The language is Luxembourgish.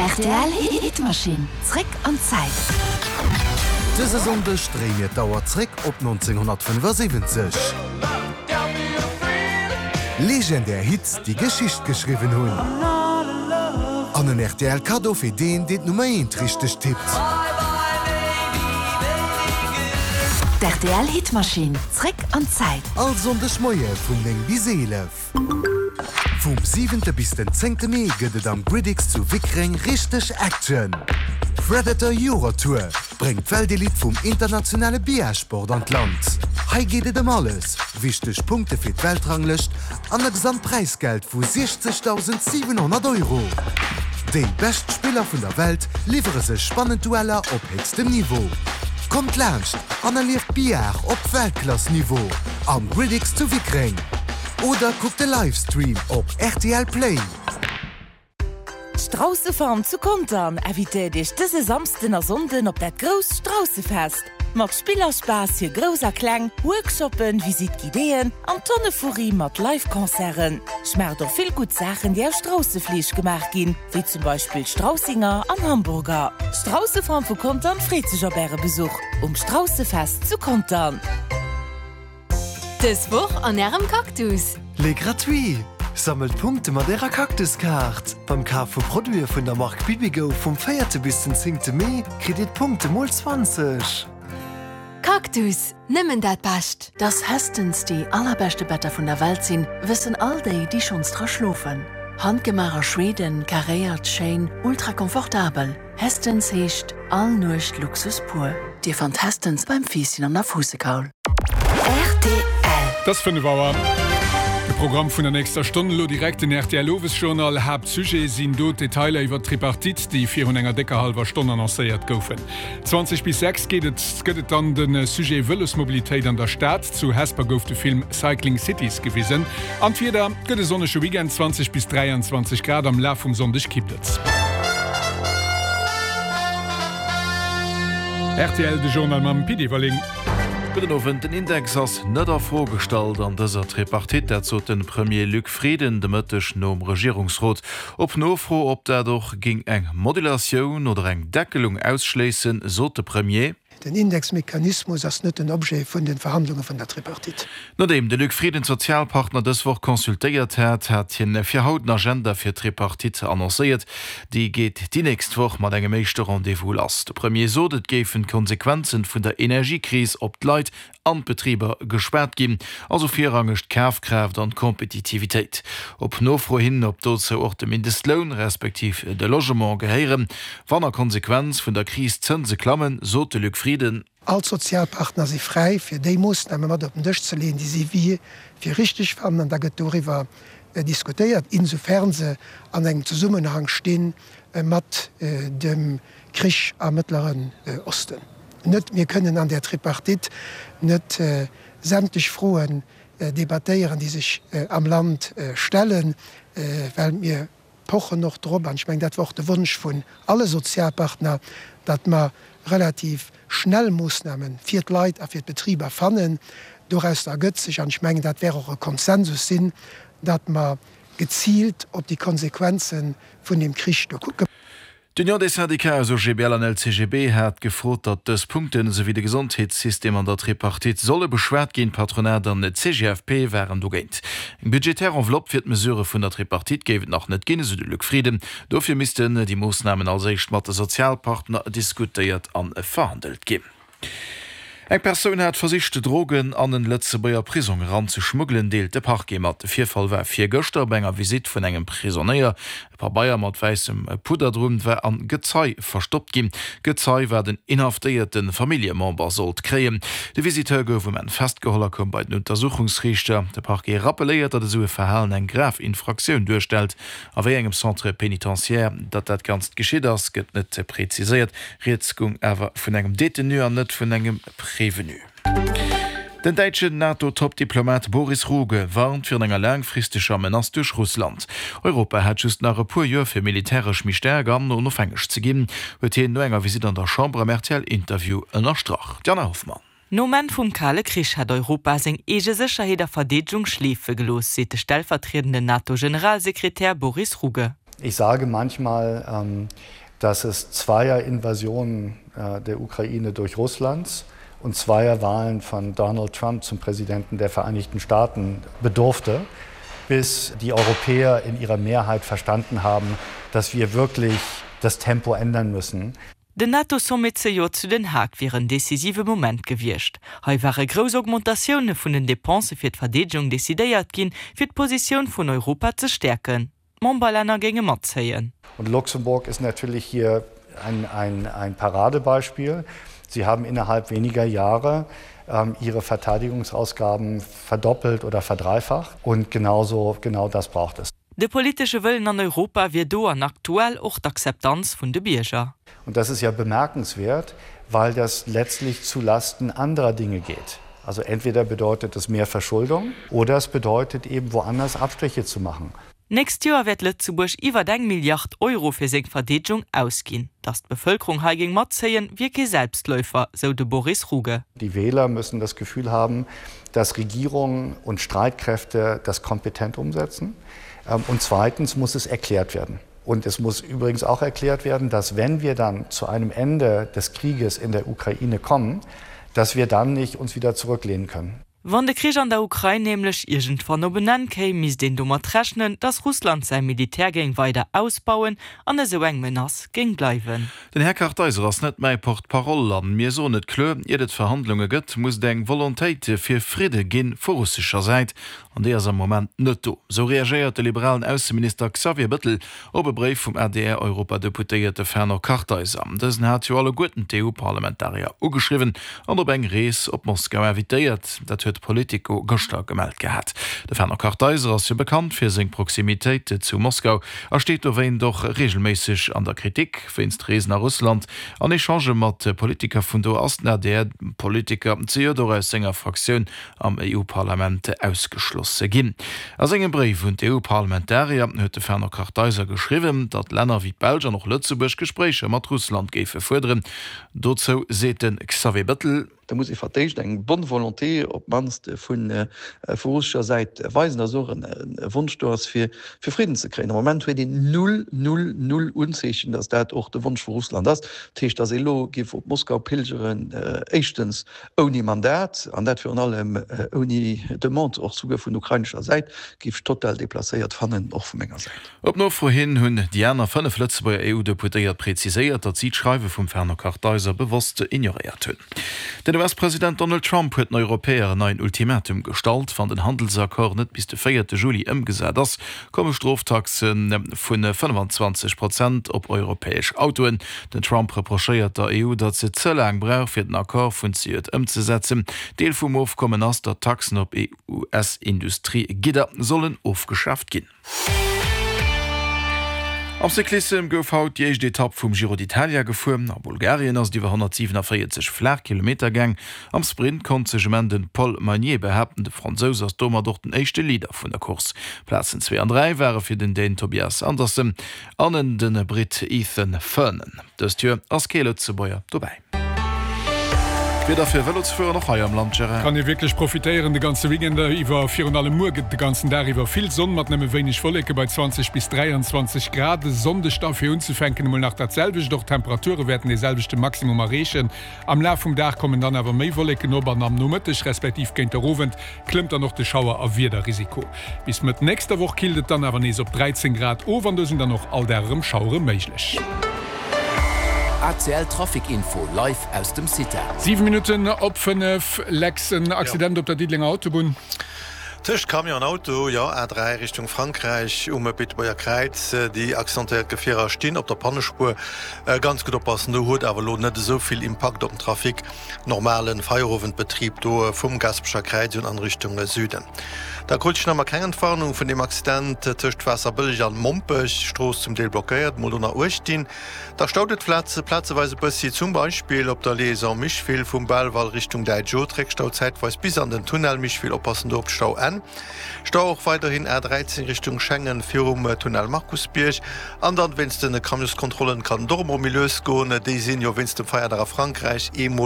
Rtl Hitmaschinn, zréck an d'Zäit. Dëse Sonndeg dréie mir d'Auer zréck op 1975. Legendär Hits, déi Geschicht geschriwwen hunn. An en rtl Kaddo fir deen, deen d'Nummer eent richteg tippt. D'RTL Hitmaschinn, zréck an d'Zäit. All Sonndeg Moie vun 9 bis 11. Vum siwente bis den zéngte Mee gëtt et am Gridix zu Wickreng richteg Action! Predator Eurotour bréngt d'Weltelite vum internationale Billardsport an d'Land. Hei geet et ëm alles, wichteg Punkte fir d'Weltranglëscht an e Gesamtpräisgeld vu 60.700 Euro. Déi bescht Spiller vun der Welt liwwere sech spannend Dueller op héchstem Niveau. Kommt laanscht an erlieft Billard op Weltklass-Niveau am Gridix zu Wickreng! Oder kuckt de Livestream op rtl Play. D'Straussefarm zu Contern invitéiert iech dëse Samsden a Sonnden op dat grousst Straussefest. Mat Spill a Spaass fir Grouss a Kleng, Workshoppen, Visite guidéeën an Tonne Furri mat Live-Concerten. Schmaacht och vill gutt Saachen déi aus Straussefleesch gemaach ginn, wéi zum Beispill Straussinger an Hamburger. D'Straussefarm vu Contern freet sech op äre Besuch um Straussefest zu Contern. Dës Woch an Ärem Cactus! Les gratuits! Sammelt Punkte mat Ärer Cactus-Kaart! Beim Kaf vu Produite vun der Mark Bibigo vum véierte bis den zéngte Mee kritt Dir d'Punkte mol 20. Cactus, nëmmen dat Bescht! Dass Hästens déi allerbeschte Better vun der Welt sinn, wëssen all déi, déi schonns dra schlofen. Handgemaach a Schweden, karéiert, schéin, ultra komfortabel. Hästens heescht all Nuecht Luxus pur. Dir fannt Hästens beim Fiisschen an der Fuussekaul. Rtl. Et ass 5 Auer. De Programm vun der nächster Stonn, elo direkt den rtl Owesjournal. Haaptsujet sinn do d'Detailer iwwer d'Tripartite, déi virun enger décker hallwer Stonn annoncéiert goufen. 20 bis 6 geet et gëtt et dann de Sujet Vëlosmobilitéit an der Stad. Zu Hesper gouf de Film Cycling Cities gewisen. An d'Wieder, Et gëtt e sonnege Weekend, 20 bis 23 Grad, am Laf vum Sonndeg kippt et. Rtl, de Journal mam Pit Everling. Gudden Owend. Den Index ass net a Fro gestallt an dëser Tripartite. Dat sot de Premier Luc Frieden de Mëtteg nom Regierungsrot. Op Nofro, ob dat och géing eng Modulatioun oder eng Deckelung ausschléissen, sot de Premier. Den Indexmechanismus ass net den Objet vun de Verhandlunge vun der Tripartite. Nodeem de Luc Frieden d'Sozialpartner dës Woch consultéiert hat, hat hien fir haut den Agenda fir d'Tripartite annoncéiert. Déi geet déi nächst Woch mat engem éischte Rendez-vous lass. De Premier sot, et géifen d'Konsequenzen vun der Energiekris op d'Leit an d'Betriber geschwat ginn, also virrangeg d'Kafkraaft an d'Kompetitivitéit. Op Nofro hin, ob dozou och de Mindestloun, respektiv de Logement gehéieren, wann a Konsequenz vun der Kris d'Zënse klammen, sot de Luc Frieden. All d'Sozialpartner si fräi, fir déi Moossname mat op den Dësch ze leeën, déi si fir richteg fannen, an da gëtt doriwwer diskutéiert, insofern se an engem Zesummenhang sti mat dem Krich am Mëttleren Osten. Net, mir kënnen an där Tripartite net sämtlech Froen debattéieren, déi sech am Land stellen, well mir pochen och drop, an ech mengen, dat war och de Wonsch vun alle Sozialpartner, datt mer relativ schnell Moossname fir d'Leit a fir d'Betriber fannen. Dorausser ergëtt sech, an ech mengen, dat wäert och e Konsensus sinn, datt mer geziilt op déi Konsequenze vun deem Krich do kucken. D'Union des Syndicats aus OGBL an LCGB hat gefrot, datt dës Punkten, esou wéi de Gesondheetssystem an der Tripartite solle beschwat ginn. D'Patronat an d'CGFP waren dogéint. Eng budgetär Enveloppe fir d'Mesurë vun der Tripartite géif et nach net ginn, esou de Luc Frieden. Dofir missten déi Moossnamen als éischt mat de Sozialpartner diskutéiert a verhandelt ginn. Eng Persoun hat versicht, Drogen an en Lëtzebuerger Prisong eran ze schmuggelen, deelt de Parquet mat. De Virfall war virgëschter bei enger Visitt vun engem Prisonéier. E Pabeier mat wäissem Pudder drun war an Gezei verstoppt ginn. D'Gezei war den inhaftéierte Familljemember sollt kréien. De Visiteur gouf um Enn festgeholl a koum bei den Untersuchungsriichter. De Parquet rappelléiert, datt esou e Verhalen eng grav Infraktioun duerstellt. A wéi engem Centre pénitentiaire datt dat Ganzt geschitt ass, gëtt net preziséiert. Rieds goung awer vun engem Detenu an net vun engem Prévenu. Den däitschen NATO-Top-Diplomat Boris Ruge warnt virun enger laangfristeger Menace duerch Russland. Europa hätt just nach e puer Joer fir militäresch méi staark an onofhängeg ze ginn, huet hien no enger Visitt an der Chamber am RTL-Interview ënnerstrach. D'Jana Hoffmann. Nom Enn vum Kale Krich hätt Europa seng eege Sécherheet a Verdeedegung schleefe gelooss, seet de stellvertriedenden NATO-Generalsekretär Boris Rugge. Ich sage manchmal, ähm, dass es zweier Invasionen äh, der Ukraine durch Russlands und zweier Wahlen von Donald Trump zum Präsidenten der Vereinigten Staaten bedurfte, bis die Europäer in ihrer Mehrheit verstanden haben, dass wir wirklich das Tempo ändern müssen. Den NATO-Sommet zejoert zu Den Haag wier en decisive Moment gewiescht. Hei ware grouss Augmentatioune vun den Depensë fir d'Verdeedegung decidéiert ginn, fir d'Positioun vun Europa ze stäerken. D'Memberlänner géinge matzéien. Und Luxemburg ist natürlich hier ein, ein, ein Paradebeispiel. Sie haben innerhalb weniger Jahre ähm, ihre Verteidigungsausgaben verdoppelt oder verdreifacht und genauso genau das braucht es. De politesche Wëllen an Europa wier do an aktuell och d'Akzeptanz vun de Bierger. Und das ist ja bemerkenswert, weil das letztlich zu Lasten anderer Dinge geht. Also entweder bedeutet es mehr Verschuldung oder es bedeutet eben woanders Abstriche zu machen. D'nächst Joer wäert Lëtzebuerg iwwert eng Milliard Euro fir seng Verdeedegung ausginn. Datt d'Bevëlkerung hei géing matzéien, wier kee Selbstläufer, sou de Boris Ruge. Die Wähler müssen das Gefühl haben, dass Regierungen und Streitkräfte das kompetent umsetzen. Ähm, und zweitens muss es erklärt werden. Und es muss übrigens auch erklärt werden, dass wenn wir dann zu einem Ende des Krieges in der Ukraine kommen, dass wir dann nicht uns wieder zurücklehnen können. Wann de Krich an der Ukrain nämlech iergendwann op en Enn kéim, misst een domat rechnen, datt Russland säi Militär géing weider ausbauen an esou eng Menace géing bleiwen. Den Här Kartheiser ass net mäi Porte-parole an mir soen et kloer, Iert et Verhandlunge gëtt, muss et eng Volontéit fir Fridde gi vu russescher Säit. An déi ass am Moment net do. Esou reagéiert de liberalen Ausseminister Xavier Bëttel op e Bréif vum ADR-Europadeputéierte Fernand Kartheiser. Dësen hat jo alleguerten d'EU-Parlamentarier ugeschriwwen an op eng Rees op Moskau invitéiert. Dat huet Politico gëschter gemellt gehat. De Fernand Kartheiser ass jo bekannt fir seng Proximitéit zu Moskau a steet dowéint och reegelméisseg an der Kritik. Wéinst Reesen a Russland an Echangë mat Politiker vun do ass den ADR-Politiker zejoert och aus senger Fraktioun am EU-Parlament ausgeschloss ginn. A sengem Bréif un d'EU-Parlamentarier huet de Fernand Kartheiser geschriwwen, datt Länner wéi d'Belsch an och Lëtzebuerg Gespréicher mat Russland géife fuerderen. Dozou seet de Xavier Bettel. Da muss ee fir d'éischt eng bonne volonté op d'mannst vu russescher Säit weisen, datt och e Wonsch do ass, fir Fridden ze kréien. Am Moment huet een null, null, null Unzeechen, datt dat och de Wonsch vu Russland ass. Dat heescht, datt ee elo géif op Moskau pilgeren, éischtens Ouni Mandat, an dat virun allem ouni Demande och souguer vun ukrainescher Säit, géif ech total deplacéiert fannen, och vu menger Säit. Op Nofro hin hunn déi aner 5 Lëtzebuerger EU-Deputéiert präziséiert, datt si d'Schreiwe vum Fernand Kartheiser bewosst ignoréiert hunn. Den US-President Donald Trump huet den Europäer en neien Ultimatum gestallt, Wann den Handelsaccord net bis de véierte Juli ëmgesat ass, komme Stroftaxe vu 25 Prozent op europäesch Autoen. Den Trump reprochéiert der EU, datt se ze laang brauch, fir den Accord vun zejoert ëmzesetzen. Deel vum Ofkommen ass, datt Taxen op US-Industriegidder sollen ofgeschaaft ginn. Am Cyclissem gouf haut déi éischt Etapp vum Giro d'Italia gefuer. A Bulgarien ass et iwwer 147 flaach Kilometer gaang. Am Sprint konnt sech um Enn de Paul Magnier behaapten. De Fransous ass domat och den éischte Leader vun der Course. Plazen 2 an 3 ware fir den Dän Tobias Andersen An en den Britt Ethan Vernon. Dëst Joer ass kee Lëtzebuerger dobäi. D'Wieder fir Vëlo ze fueren och hei am Land, Gérard? Kann ee wierklech profitéieren de ganze Weekend iwwer. Virun allem muer gëtt et de ganzen Dag iwwer vill Sonn mat nëmme wéineg Wolleke bei 20 bis 23 Grad. E Sonndeg da fir unzefänken emol nach dat selwecht, och d'Temperature wäerten dee selwechte Maximum erreechen. Am Laf vum Dag kommen dann awer méi Wolleken op an am Nomëtteg respektiv géint der Owend klëmmt dann och de Schauer a Wiederrisiko. Bis Mëtt nächster Woch killt et dann awer nees op 13 Grad of an do sinn dann och all Dag erëm Schauere méiglech. ACL Trafic Info live aus dem CITA. 7 Minutten op 5, Lex, en Accident op der Diddelenger Autobunn. Tëscht Camion an Auto, jo, A3 Richtung Frankräich um Beetebuerger Kräiz. Déi accidentéiert Gefierer stinn op der Pannespuer. Ganz gutt oppassen, do huet awer elo net esou vill Impakt op den Trafic. Normalen Feierowendbetrieb do vum Gaspecher Kräiz un an Richtung Süden. Da krut ech nach emmer keng Entwarnung vun deem Accident tëscht Waasserbëlleg an Mompech, Strooss zum Deel blockéiert, mol do nach uecht dinn. Da staut et plazeweis e bëssi, zum Beispill op der Liaison Micheville vum Belval Richtung Däitsch Haut, Réckstau zäitweis bis an den Tunnel Micheville, oppassen do op d'Stauenn. Stau och weiderhin A13 Richtung Schengen virum Tunnel Markusbierg. An dann wéinst den Camionskontrollen kann et och emol méi lues goen, déi sinn jo wéinst dem Feierdag a Frankräich eemol.